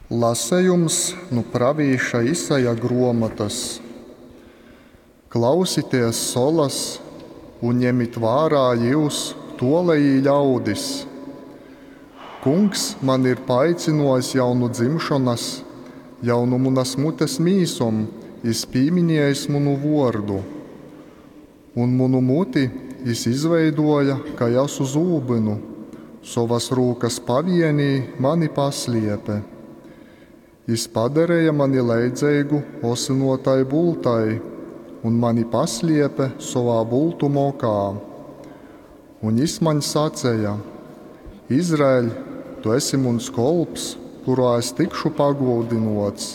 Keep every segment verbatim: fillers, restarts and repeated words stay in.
Lasejums nu pravīša Isaja gruomotys. Klausities, solas, un ņemit vārā jyus, tuolejī ļaudis! Kungs mani ir paaicynuojs jau nu dzimšonas, jau nu munas mutes mīsom jis pīminiejis munu vuordu. Un munu muti jis izveiduoja kai asu zūbynu, sovas rūkas pavienī mani pasliepe. Jis padareja mani leidzeigu osynuotai bultai un mani pasliepe sovā bultu mokā. Un jis maņ saceja: Izraeļ, tu esi muns kolps, kurā es tikšu pagūdynuots.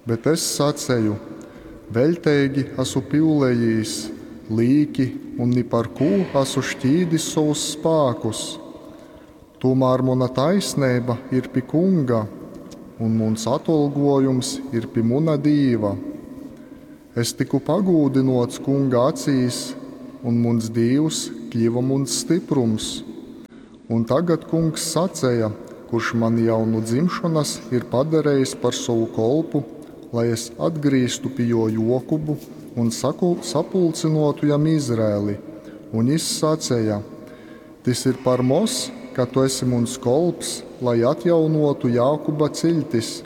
Bet es saceju: Veļteigi asu pyulējīs, līki un ni par kū asu šķīdis sovus spākus. Tūmār muna taisneiba ir pi Kunga, un muns atolgojums ir pi muna Dīva. Es tiku pagūdynuots Kunga acīs, un muns Dīvs kļiva muns styprums. Un tagad Kungs saceja, kurš mani jau nu dzimšonas ir padarejis par sovu kolpu, lai es atgrīztu pi juo Jokubu un saku, sapulcynuotu jam Izraeli. Un jis saceja: Tys ir par moz, ka tu esi muns kolps, lai atjaunuotu Jākuba ciļtis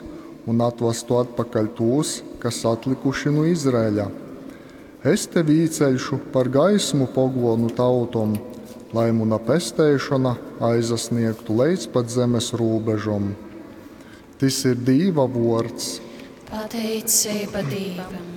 un atvastu atpakaļ tūs, kas atlikuši nu Izraeļa. Es tevi īceļšu par gaismu poguonu tautom, lai muna pesteišona aizasniegtu leidz pat zemes rūbežom. Tys ir Dīva vuords. Pateiceiba Dīvam!